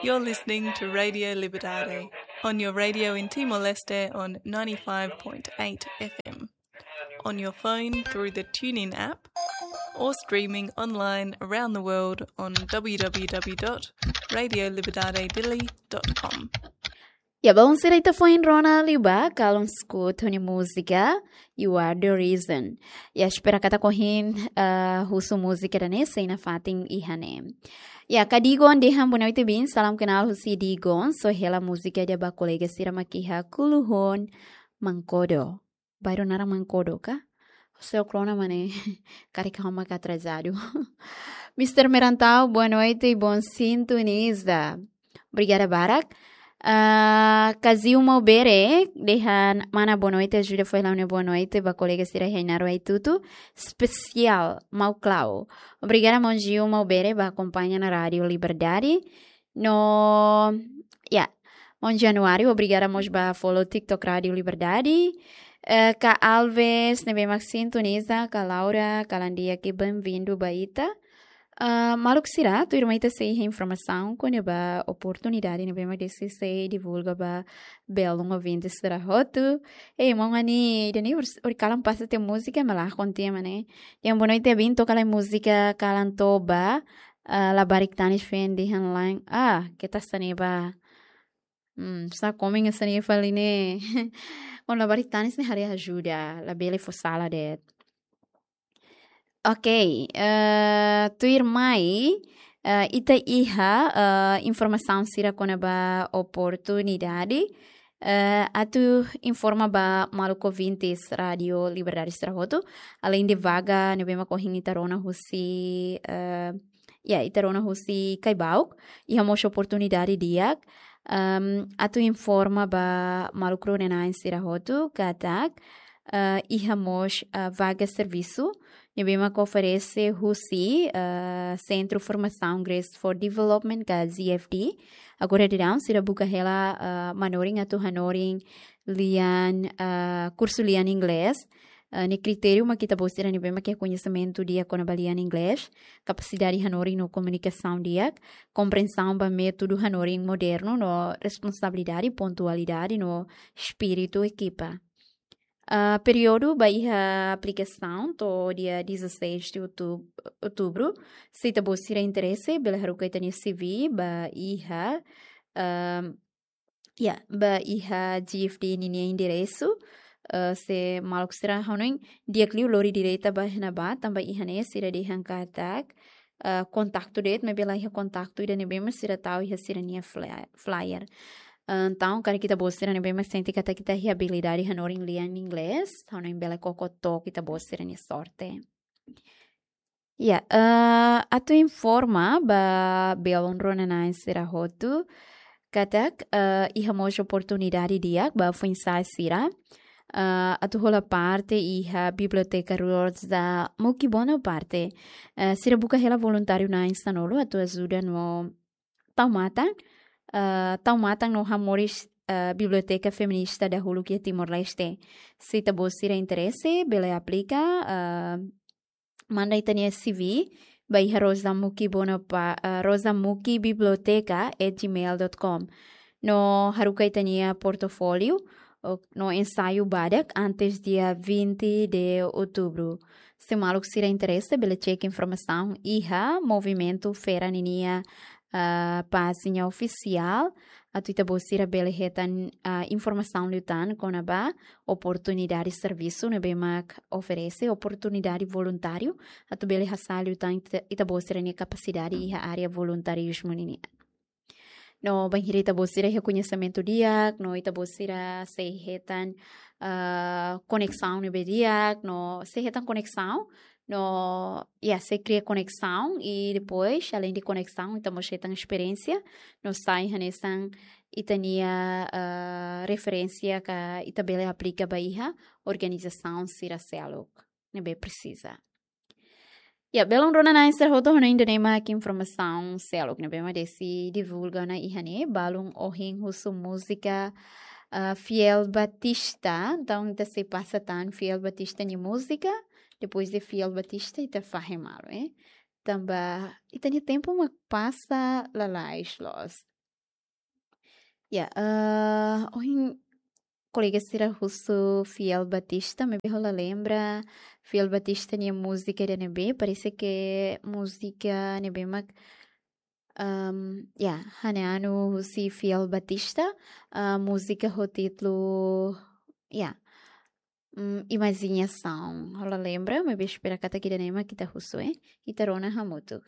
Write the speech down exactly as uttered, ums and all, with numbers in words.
You're listening to Radio Liberdade on your radio in Timor-Leste on ninety-five point eight F M, on your phone through the TuneIn app, or streaming online around the world on w w w dot radio liberdade dili dot com. Ya, balun sira, ita foin rona liubá Callum Scott nia múzika You Are the Reason. Ya, espera katak ohin, ah, husu múzika ida-ne'e sei nafatin iha ne'e. Ya, ka Digon dehan boa noite, bin, salam kenal husi Digon, só hela múzika ida ba kolega sira mak iha Kuluhon Mankodo. Bairru naran Mankodo ka? Seu krona mane, karik ha'u mak atrasadu. Mister Merantau, boa noite e bom sintoniza. Obrigada barak. Ah, Kazio Maubere, dehan mana boa noite, ajuda fó hela ó-nia boa noite ba kolega sira iha Ainaro, Haitutu, espesiál Mau Klau. Obrigada, maun Gio Maubere, ba akompaña ona Rádiu Liberdade. No, ya, maun Januário, obrigada mós ba follow TikTok Rádiu Liberdade. Eh, Ka Alves, ne'ebé mak sintoniza, Ka Laura, kalan di'ak, bem-vindo ba ita. Ah, maluk sira, tuirmai ita sei iha informasaun kona-ba oportunidade ne'ebé mak Desi sei divulga ba belun ouvinte sira hotu. Eh, maun Ani, ida-ne'e hori, hori kalan pasa tiha múzika, malah kontia mane. Yang boa noite, bin, toka lai múzika Kalan Toba, ah, Labarik Tanis feen dehan laen. Ah, keta sá ne'e ba. Hmm, sá komen hanesan ne'e fali ne'e. Ó-nia Labarik Tanis ne'e haree ajuda, labele fó sala de'it. Ok, eh, tuirmai, eh, ita iha, eh, informasaun sira kona-ba oportunidade. Eh, atu informa ba maluk ouvintes Rádiu Liberdade sira hotu, aleinde vaga ne'ebé mak ohin ita rona husi, eh, ya, ita rona husi Caibauk, iha mós oportunidade di'ak, ehm, atu informa ba maluk rona-na'in sira hotu katak, eh, iha mós, eh, vaga servisu ne'ebé mak oferese husi, eh, Centro Formação Grace for Development ka Z F D. Agora daudaun sira buka hela, eh, manorin atu hanorin lian, eh, kursu lian inglés. Eh, ne'e kritériu mak ita-boot sira ne'ebé mak iha koñesimentu di'ak kona-ba lian inglés, kapasidade hanorin no komunikasaun di'ak, komprensaun ba métodu hanorin modernu no responsabilidade, pontualidade no espíritu ekipa. Ah, períodu ba iha aplikasaun to'o dia dezasseis de outub-, outubro. Se ita-boot sira interese, bele haruka ita-nia C V ba iha, ah, ya, ba iha Z F D ninia enderesu. Ah, se maluk sira hanoin di'ak liu lori direta ba iha ne'ebá, tanba iha ne'e sira dehan katak, ah, kontaktu de'it, maibé la iha kontaktu ida ne'ebé mak sira tau iha sira-nia fly-, flyer. Ah, entaun, karik ita-boot sira ne'ebé mak sente katak ita iha abilidade hanorin lian inglés, hanoin bele koko took ita-boot sira-nia sorte. Ya, eh, atu informa ba belun rona-na'in sira hotu katak, eh, iha mós oportunidade di'ak ba foin-sa'e sira, eh, atu hola parte iha Biblioteka Rosa Muki Bonaparte. Eh, sira buka hela voluntáriu na'in sanulu atu ajuda no tau matan, eh, tau matan no hamoris, eh, Biblioteka Feminista dahuluk iha Timor-Leste. Se ita-boot sira interese, bele aplika, eh, manda ita-nia C V ba iha Rosa Muki Bonapa-, eh, rosa muki biblioteca at gmail dot com. No haruka ita-nia portofóliu, o, no ensaiu badak antes dia vinte de outubro. Se maluk sira interese, bele cek informasaun iha Movimentu Fera ninia, ah, pájina ofisiál, atu ita-boot sira bele hetan, ah, informasaun liután kona-ba oportunidade servisu ne'ebé mak oferese, oportunidade voluntáriu, atu bele hasa'e liután ita, ita-boot sira-nia kapasidade iha área voluntarizmu ninia. No bainhira ita-boot sira iha koñesimentu di'ak, no ita-boot sira sei hetan, ah, koneksaun ne'ebé di'ak, no sei hetan koneksaun, no, ya, sei kria koneksaun, i depois, aleinde koneksaun, ita mós hetan esperiénsia, no sai hanesan ita-nia, ah, referénsia ka ita bele aplika ba iha organizasaun sira seluk ne'ebé presiza. Ya, belun rona-na'in sira hotu, hanoin ida-ne'e mak informasaun seluk ne'ebé mak Desi divulga ona iha ne'e, balun ohin husu múzika, ah, Fiel Batista, entaun ita sei pasa tan Fiel Batista nia múzika, depois de Fiel Batista ita fahe malu, eh. tanba ita-nia tempu mak pasa lalais loos. Ya, eh, ohin kolega sira husu Fiel Batista, maibé ha'u la lembra Fiel Batista nia múzika ida-ne'ebé, parese ke múzika ne'ebé mak, ehm, ya, hane anu husi Fiel Batista, eh, múzika ho títulu, ya, mm, Imajiñasaun. Ha'u la lembra, maibé espera katak ida-ne'e mak ita husu, eh. Ita rona hamutuk.